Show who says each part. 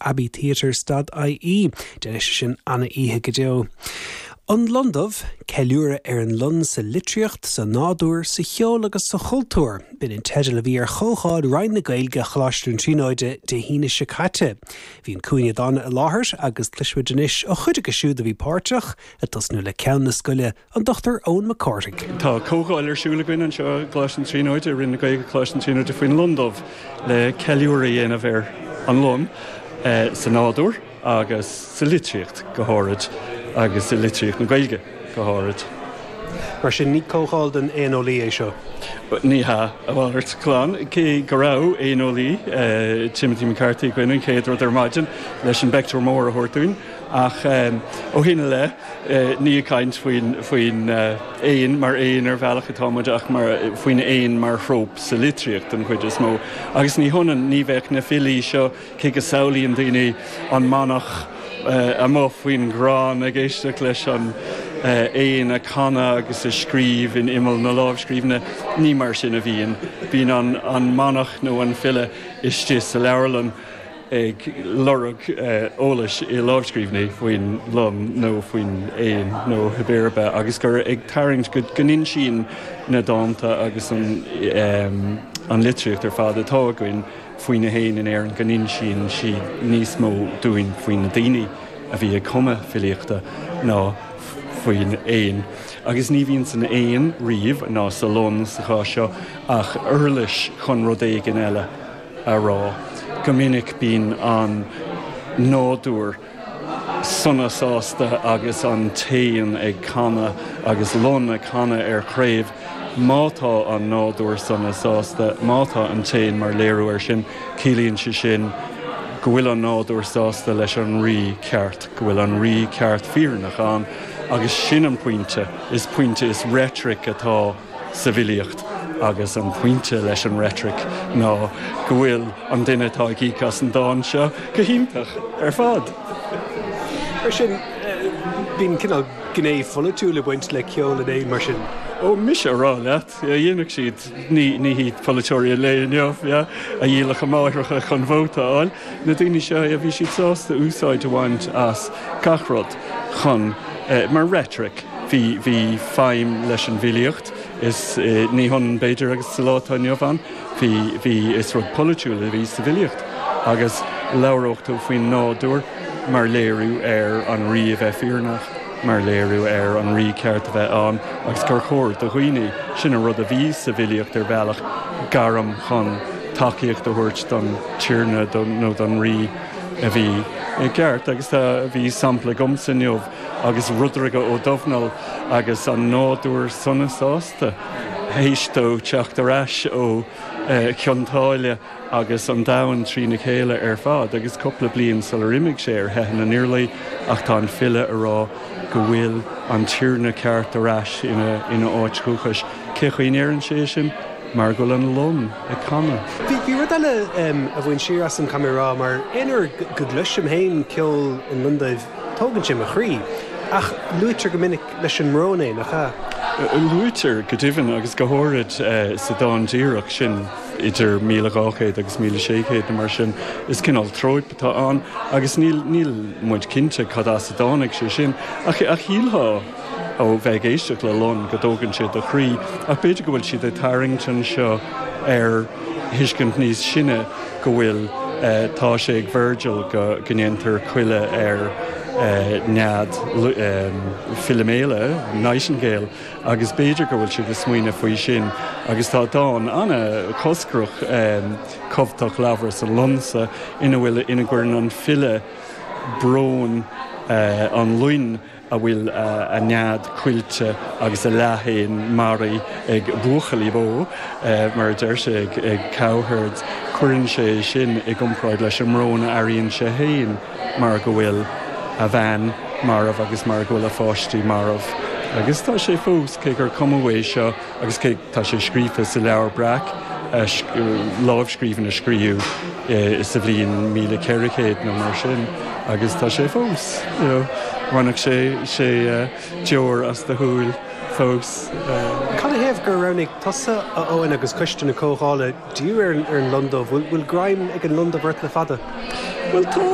Speaker 1: Abbey Theatres dot ie. Déanfaidh sé sin ana-oíche go deo. An Lon Dubh, ceiliúradh ar an lon sa litríocht, sa nádúr, sa cheol agus sa chultúr. B'in an teideal a bhí ar chomhdháil Roinn na Gaeilge Choláiste na Tríonóide Dé hAoine seo caite. Bhí an Cúinne Dána i láthair agus cloisfimid anois ó chuid acu siúd a bhí páirteach, ag tosnú le Ceann na Scoile, an Dr Eoin Mac Cárthaigh.
Speaker 2: Tá comhdháil ar siúl againn anseo i gColáiste na Tríonóide, i Roinn na Gaeilge Coláiste na Tríonóide faoin Lon Dubh le ceiliúradh a dhéanamh ar an lon sa nádúr. agus sa litríocht go háirid, agus i litríocht na Gaeilge go háirid.
Speaker 1: Mar sin, ní comhdháil don éaneolaí é seo?
Speaker 2: Ní hea, a mhalairt glan. Cé go raibh éaneolaí, Timothy McCarthy, againn an chéad rud ar maidin leis an bpeictiúr mór a thabhairt dúinn, ach ó shin i leith, ní ag caint faoin faoin éan mar éan ar bhealach atá muid ach mar faoin éan mar thróp sa litríocht den chuid is mó. Agus ní hionann, ní bheadh na filí seo, Cé go samhlaíonn daoine an manach amuigh faoin gcrann ag éisteacht leis an éan ag canadh agus ag scríobh in imeall na lámhscríbhinne, ní mar sin a bhíonn. Bíonn an manach nó an file istigh sa leabharlann ag lorg eolais i lámhscríbhinní faoin lon nó faoin éan nó cibé ar bith agus gur ag tarraingt go n-insíonn na dánta agus an litríocht ar fad atá againn faoi na héin in Éirinn go n-insíonn siad níos mó dúinn faoi na daoine a bhí ag cumadh filíochta ná faoin éan. Agus ní bhíonn san éan riamh, ná sa lon sa chás seo, ach uirlis chun rud éigin eile a rá. Go minic bíonn an nádúr. sona sásta agus an t-éan ag canadh agus lon ag canadh ar chraobh. Má tá an nádúr sona sásta, má tá an t-éan mar léiriú air sin, ciallaíonn sé sin go bhfuil an nádúr sásta leis an rí ceart, go bhfuil an rí ceart fírinneach ann agus sin an pointe, is pointe, is reitric atá sa bhfilíocht agus an pointe leis an reitric ná go bhfuil an duine atá ag íoc as an dán seo go hiontach ar fad.
Speaker 1: Mar sin, bíonn cineál gné pholaitiúil ag baint le ceol an éin mar sin?
Speaker 2: Ó, mise a rá leat, dhéanfadh siad, ní, ní hiad polaiteoirí an lae inniu, yeah, a dhíolfadh a máithreacha chun vóta a fháil. Na daoine seo, yeah, bhí siad sásta úsáid a bhaint as gach rud chun, mar reitric. Bhí, bhí feidhm leis an bhfilíocht, is ní hionann b'fhéidir agus sa lá atá inniu ann, bhí, bhí, is rud polaitiúil a bhí sa bhfilíocht agus labhródh tú faoin nádúr mar léiriú ar an rí a bheith fírinneach, mar léiriú ar an rí ceart a bheith ann agus gur chóir do dhaoine, sin an rud a bhí sa bhfilíocht ar bhealach, gairm chun tacaíocht a thabhairt don tiarna nó don rí a bhí i gceart agus tá, bhí sampla agamsa inniu. agus Rudraige Ó Domhnaill agus an nádúr sona sásta théis dó teacht ar ais ó Chionn tSáile agus an domhan trína chéile ar fad agus cúpla bliain sular imigh sé ar theitheadh na nIarlaí ach tá an file a rá go bhfuil an tiarna ceart ar ais ina áit dhúchais. Cé chaoi a ndeireann sé sin? Mar go bhfuil an lon ag canadh.
Speaker 1: Bhí rud eile a bhain siar asam, caithfidh mé a rá, mar aon uair go gcloisim féin ceol an loin duibh, tógann sé mo chroí. Ach luaitear go minic leis an mbrón é, nach ea?
Speaker 2: Luaitear, go deimhin, agus go háirid sa dán díreach sin, idir 1200 agus 1600 nó mar sin. Is cineál tróip atá ann agus níl níl muid cinnte cad as a dtáinig sé sin. Ach shílfeá ó bheith ag éisteacht le lon go dtógann sé do chroí, ach b'fhéidir go bhfuil siad ag tarraingt anseo ar thuiscint níos sine go bhfuil, tá sé ag Virgil go ndéantar coilleadh ar nead Philomela, Nightingale, agus b'fhéidir go bhfuil siad ag smaoineamh faoi sin agus tá dán an-choscrach cumhachtach Labhras an Lon-sa ina bhfuil, ina gcuireann an file brón an loin a bhfuil a nead coillte agus a leathéan maraithe ag buachaillí bó, mar a deir sé, ag cowherds. Cuireann sé sin i gcomparáid leis an mbrón a airíonn sé féin mar go bhfuil a bhean marbh agus mar go bhfuil a pháistí marbh. Agus tá sé fós, cé gur cumadh é seo, Agus cé tá sé scríofa sa Leabhar Breac, lámhscríbhinn a scríobhadh sa bhliain 1400 nó mar sin, agus tá sé fós, you know, bhainfeadh sé sé deoir as do shúil fós.
Speaker 1: Cad ina thaobh gur roghnaigh tusa, a Eoin, agus coiste na comhdhála, díriú ar an lon dubh? Bhfuil greim ag an lon dubh ort le fada?
Speaker 2: Bhuel tá.